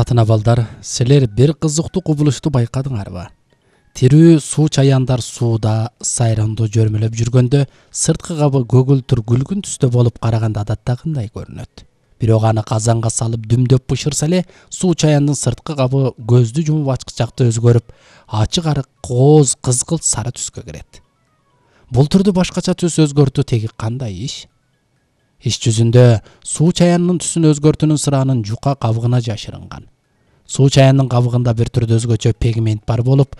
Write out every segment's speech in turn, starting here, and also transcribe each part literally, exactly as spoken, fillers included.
Татына балдар, силер бир кызыктуу кубулушту байкадыңарбы? Тирүү суу чаяндар сууда сайрандуу жөрмөлөп жүргөндө сырткы кабы көгүлтүр күлгүн түстө болуп караганда адаттагындай көрүнөт. Бирок аны казанга салып дүмдөп бышырса эле суу чаяндын сырткы кабы көздү жумуп ачкычакта өзгөрүп, ачык арык кооз кызгылт сары түскө кирет. Бул түрдү башкача түс өзгөртүү теги кандай иш? Иш жүзүндө суу чаянынын түсүн өзгөртүүнүн сыраанын жука кабыгына жашырынган. Суу чаянынын кабыгында бир түрдүү өзгөчө пигмент бар болуп,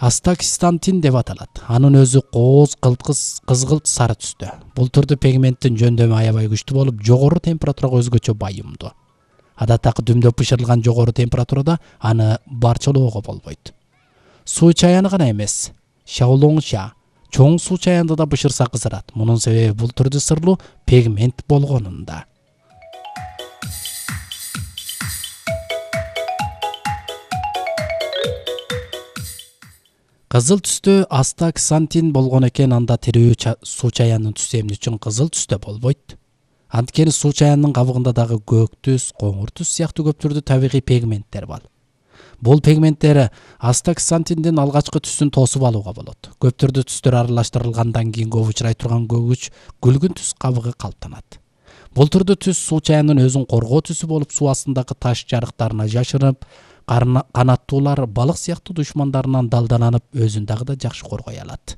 астаксантин деп аталат. Анын өзү кооз кылкыс кызгылт сары түстө. Бул түрдүү пигменттин жөндөмү аябай күчтүү болуп, жогору температурага өзгөчө байымдуу. Адаттагы дүмдөп бышырылган жогору температурада аны барчалоого болбойт. Суу чаяны гана эмес, шаолоңша чоң суу чаянды да бышырса кызарат. Мунун себеби бул түрдүү сырлуу пигмент болгонунда. Кызыл түстө астаксантин болгон экен, анда тирүү суу чаянын түсү эмне үчүн кызыл түстө болбойт? Анткени суу чаянынын кабыгында дагы көк түс, коңур түс сыяктуу көп түрдүү табигый пигменттер бар. Бул пигменттер астаксантиндин алгачкы түсүн тосуп алууга болот. Көп түрдүү түстөр аралаштырылгандан кийин көп учурай турган көгүч күлгүн түс кабыгы калыптанат. Бул түрдүү түс суу чаянын өзүн коргоо түсү болуп, суу астындагы таш жарыктарына жашырып, канаттуулар балык сыяктуу душмандарынан далдаланып, өзүн дагы да жакшы коргой алат.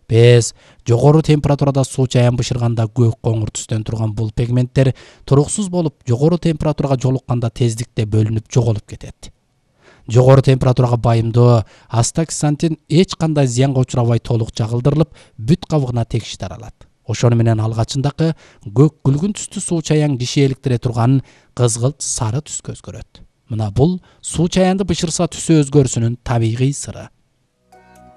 Биз жогору температурада суу чаян бышырганда көк коңур түстөн турган бул пигменттер туруксуз болуп, жогору температурага жолукканда тездикте бөлүнүп жоголуп кетет. Жогору температурага байымдуу астаксантин эч кандай зыянга учурабай толук жагылдырылып, бүт кабыгына тегиш таралат. Ошону менен алгачындагы көк күлгүн түстүү суу чаян киши эликтире турган кызгылт сары түскө өзгөрөт. Мына бул суу чаянды бышырса түсү өзгөрүшүнүн табигый сыры.